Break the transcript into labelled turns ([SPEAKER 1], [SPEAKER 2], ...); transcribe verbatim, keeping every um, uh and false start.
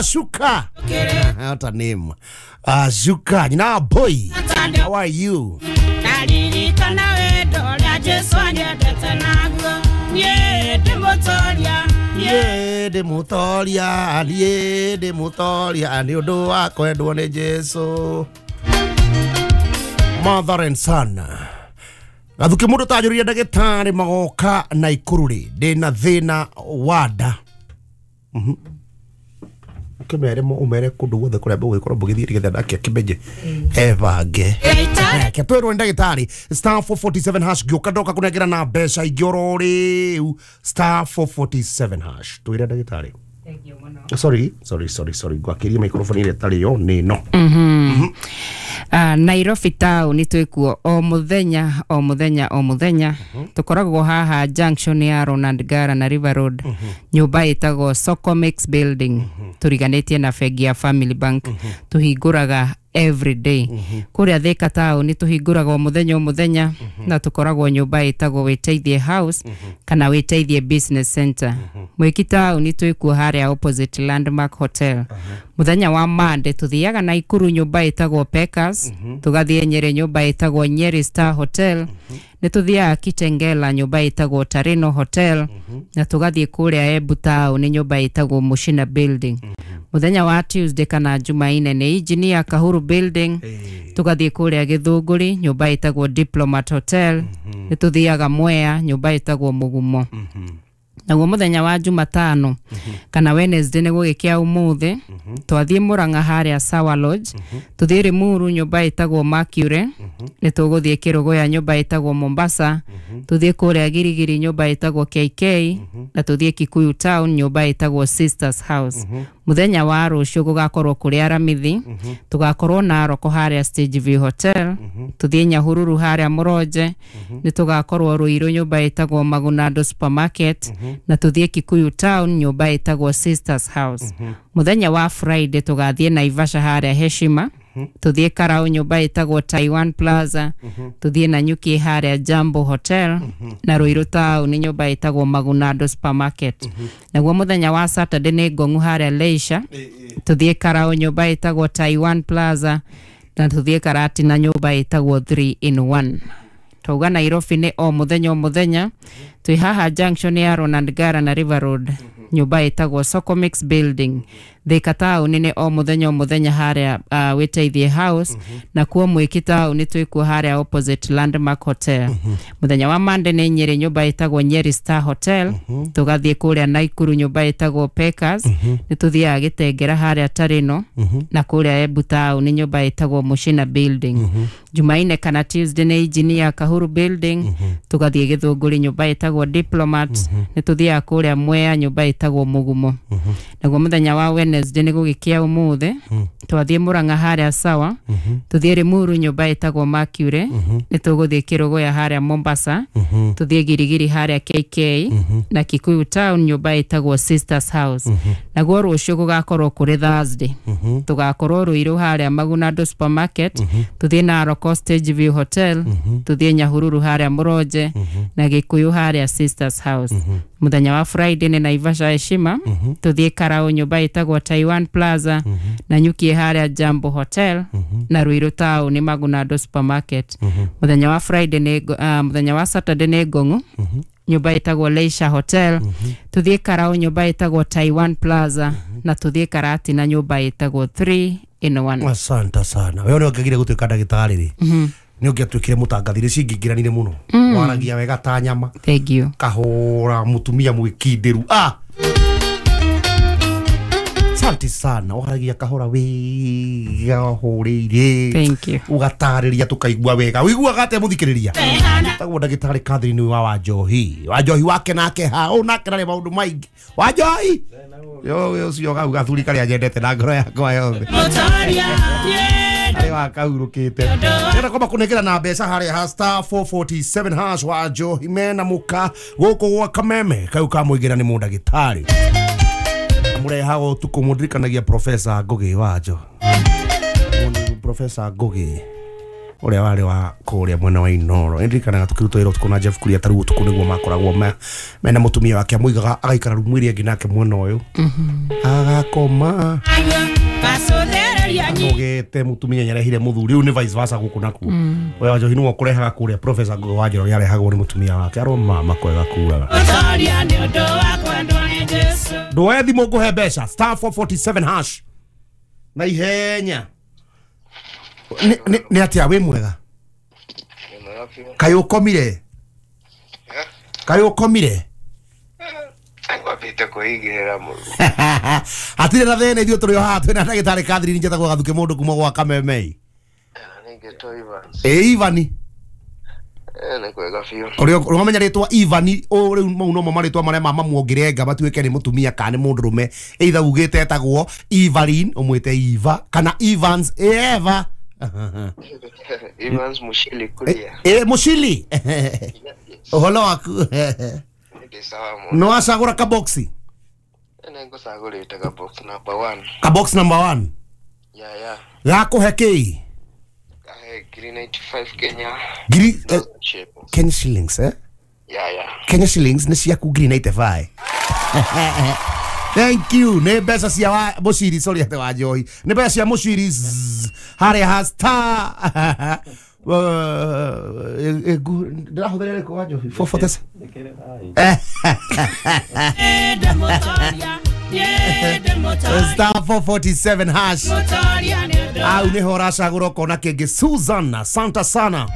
[SPEAKER 1] Shuka. What a name. Uh, Shuka. You know, boy. How are you? Yeah, de mutoria, yeah, de mutoria, ni undu wa kwendwo ni Jesu. Mother and son. Gathuki mundu tanjuria ndagitari magoka na ikuru ri ndina thina wa nda. Mhm. Ukimere mo umere kundu guothe kuria mbũgĩkorwo mbũgĩthiĩ nĩgetha nake akĩmenye ebange. Ke twĩrwo nĩ ndagĩtarĩ star four forty-seven hash ngĩũka ndoka kũnengera na mbeca ingĩ oro rĩu star four forty-seven hash. Twĩre ndagĩtarĩ.
[SPEAKER 2] Thank you mũno.
[SPEAKER 1] Sorry, sorry, sorry, sorry. Ngwakĩria microphone ĩrĩa ĩtarĩ yo nĩ ĩno.
[SPEAKER 2] Mhm. Uh, Nairobi town twĩkuo o mũthenya o mũthenya o mũthenya. Tũkoragwo haha junction ya Ronald Ngara na River Road. Nyũmba ĩtagwo Socomix Building. Tũriganĩtie na bengi ya Family Bank. Tũhingũraga every day. Kũrĩa Thika town tũhingũraga o mũthenya o mũthenya na tũkoragwo nyũmba ĩtagwo Wĩteithie House kana Wĩteithie Business Center. Mwiki town twĩkuo harĩa opposite Landmark Hotel. Mũthenya wa Monday tũthiaga Naikuru nyũmba ĩtagwo Pekas, tũgathiĩ Nyeri nyũmba ĩtagwo Nyeri Star Hotel, nĩ tũthiaga Kitengela nyũmba ĩtagwo Tarino Hotel, na tũgathiĩ kũrĩa Embu town nyũmba ĩtagwo Mushina Building. Mũthenya wa Tuesday kana Jumaine nĩ Engineer Kahuru Building, tũgathiĩ kũrĩa Gĩthũngũri nyũmba ĩtagwo Diplomat Hotel, nĩ tũthiaga Mwea nyũmba ĩtagwo Mũgumo. Naguo mũthenya wa Jumatano kana Wednesday nĩ gũgĩkĩa ũmũthĩ twathiĩ Murang'a harĩa Sawa Lodge, tũthiĩ Limuru nyũmba ĩtagwo Mercury, nĩ tũgũthiĩ Kĩrũgũya nyũmba ĩtagwo Mombasa, tũthiĩ kũrĩa Girigiri nyũmba ĩtagwo K K, na tũthiĩ Kikuyu Town nyũmba ĩtagwo Sisters House. Mũthenya wa rũciũ gũgakorwo kũrĩ Aramithi, tũgakorwo Narok harĩa Stage View Hotel, tũthiĩ Nyahururu harĩa Mũronje, nĩ tũgakorwo Ruiru nyũmba ĩtagwo Magunando Supermarket, na tũthiĩ Kikuyu Town nyũmba ĩtagwo Sisters House. Mũthenya wa Friday tũgathiĩ Naivasha harĩa Heshima, tũthiĩ Karau nyũmba ĩtagwo Taiwan Plaza, tũthiĩ Nanyuki harĩa Jambo Hotel, na Ruiru Town nyũmba ĩtagwo Magunando Supermarket. Naguo mũthenya wa Saturday nĩ Ngong'u harĩa Leisure, tũthiĩ Karau nyũmba ĩtagwo Taiwan Plaza, na tũthiĩ Karatina nyũmba ĩtagwo three in one. Twauga Nairobi nĩ o mũthenya o mũthenya, twĩ haha junction ya Ronald Ngara na River Road, nyũmba ĩtagwo Socomix Building. Thika town nĩ o mũthenya o mũthenya harĩa uh, Wĩteithie House, na kuo Mwiki town twĩkuo harĩa opposite Landmark Hotel. Mũthenya wa Monday nĩ Nyeri nyũmba ĩtagwo Nyeri Star Hotel, tũgathiĩ kũrĩa Naikuru nyũmba ĩtagwo Pekas, nĩ tũthiaga Gĩtengera harĩa Tarino, na kũrĩa Embu town nyũmba ĩtagwo Mushina Building. Jumaine kana Tuesday nĩ Engineer Kahuru Building, tũgathiĩ Gĩthũngũri nyũmba ĩtagwo Diplomat, nĩ tũthiaga kũrĩa Mwea nyũmba ĩtagwo Mũgumo. Naguo mũthenya wa Wednesday nĩ gũgĩkĩa ũmũthĩ, twathiĩ Murang'a harĩa Sawa, tũthiĩ Limuru nyũmba ĩtagwo Mercury, nĩ tũgũthiĩ Kĩrũgũya harĩa Mombasa, tũthiĩ Girigiri harĩa K K, na Kikuyu Town nyũmba ĩtagwo Sisters House. Naguo rũciũ gũgakorwo kũrĩ Thursday, tũgakorwo Ruiru harĩa Magunando Supermarket, tũthiĩ Narok Stage View Hotel, tũthiĩ Nyahururu harĩa Mũronje, na Gĩkũyũ harĩa Sisters House. Mũthenya wa Friday nĩ Naivasha Heshima, tũthiĩ Karau nyũmba ĩtagwo Taiwan Plaza, na Nyuki harĩa Jambo Hotel, na Ruiru Town nĩ Magunando Supermarket. Mũthenya wa Friday nĩ uh, mũthenya wa Saturday nĩ Ngong'u nyũmba ĩtagwo Leisure Hotel, tũthiĩ Karau nyũmba ĩtagwo Taiwan Plaza, na tũthiĩ Karatina nyũmba ĩtagwo three in one.
[SPEAKER 1] Asante sana. Wewe ũngĩagire gũtuĩka ndagĩtarĩ rĩ, nĩ ũngĩatuĩkire mũtangathi cingĩingĩranire mũno. Waragia wega ta nyama.
[SPEAKER 2] Thank you.
[SPEAKER 1] Kahũra mũtumia mwĩkindĩru. Ah! Asante sana. Waragia kahora wega hũrĩire.
[SPEAKER 2] Thank you.
[SPEAKER 1] Ũgatarĩria tũkaigua wega. Ũiguaga atĩa mũthikĩrĩria? Tagwo ndagĩtarĩ Catherine wa Wanjohi. Wanjohi wake nake ha. Ũ nake ndarĩ maũndũ maingĩ. Wanjohi! Yo ũcio gau gathuri karĩa nyendete na ngoro yakwa yothe. Arĩ wa kahurũkĩte. Ndĩrenda kwamba kũnengera na mbeca harĩa ha star four forty-seven hash wa Njohi mena mũka gũkũ gwa Kameme kau ka mũingĩra nĩ mũndagĩtarĩ. Mũrehaga ũtukũ mũndirikanagia Professor Ngugi wa Njo. Professor Ngugi. Ũrĩa warĩ wa kũrĩa mwena wa Inoro. Ndirikanaga tũkĩruta wĩra ũtukũ na Jeff Kuria tarĩu ũtukũ nĩguo makoragwo me mena mũtumia wake amũigaga agaikara rumu ĩrĩa ĩngĩ nake mwena ũyũ. Agakoma. Agogete mũtumia nĩarehire mũthuri rĩu nĩ vice versa gũkũ nakuo. We wa Njohi nĩwe ũkũrehaga kũrĩa Professor Ngugi wa Njoroge arehagwo nĩ mũtumia wake arwo mama kwega kuraga. Ndoe thimũ ngũhe mbeca star four forty-seven hash na ihenya. Nĩ atĩa wĩ mwega? Kaĩ ũkomire? Kaĩ ũkomire?
[SPEAKER 3] Ngwambĩte kwĩigĩrĩra mũru.
[SPEAKER 1] Hatirĩ na thĩna ithuĩ tũrĩ o haha twĩna ndagĩtarĩ Catherine njetagwo Gathuke mũndũ kuma gwa Kamemei.
[SPEAKER 3] Nĩngĩtwo Evans.
[SPEAKER 1] Ĩ Ivani.
[SPEAKER 3] Eh nĩ kwega biũ.
[SPEAKER 1] Ũrĩa ũramenya rĩtwa Ivani o rĩu mau nomo marĩtwa marĩa mama muongerenga matuĩke nĩ mũtumia kana nĩ mũndũrũme either ugĩte etagwo Evelyn ũmwĩte Eva kana Evans Eva.
[SPEAKER 3] Evans Mushili kulia.
[SPEAKER 1] Eh Mushili. Ũhoro waku?
[SPEAKER 3] Ndĩ sawa mũno.
[SPEAKER 1] No acagũra kaboxi?
[SPEAKER 3] Nĩngũcagũrĩte kabox number one.
[SPEAKER 1] Kabox number one?
[SPEAKER 3] Yeah yeah.
[SPEAKER 1] Gakũhe kĩĩ?
[SPEAKER 3] Kahe ngiri ninety-five Kenya.
[SPEAKER 1] Ngiri eh, Kenya shillings eh?
[SPEAKER 3] Yeah yeah.
[SPEAKER 1] Kenya shillings nĩ ciaku ngiri ninety-five. Thank you. Nĩ mbeca cia wa Mushiri, sorry ate wa Njohi. Nĩ mbeca cia Mushiri harĩa ha star. Ndĩrahũthĩra rĩkũ wa Njohi? four forty-seven. Star four forty-seven hash. Au nĩho ũracagũra ũkona kĩngĩ. Susan, asante sana.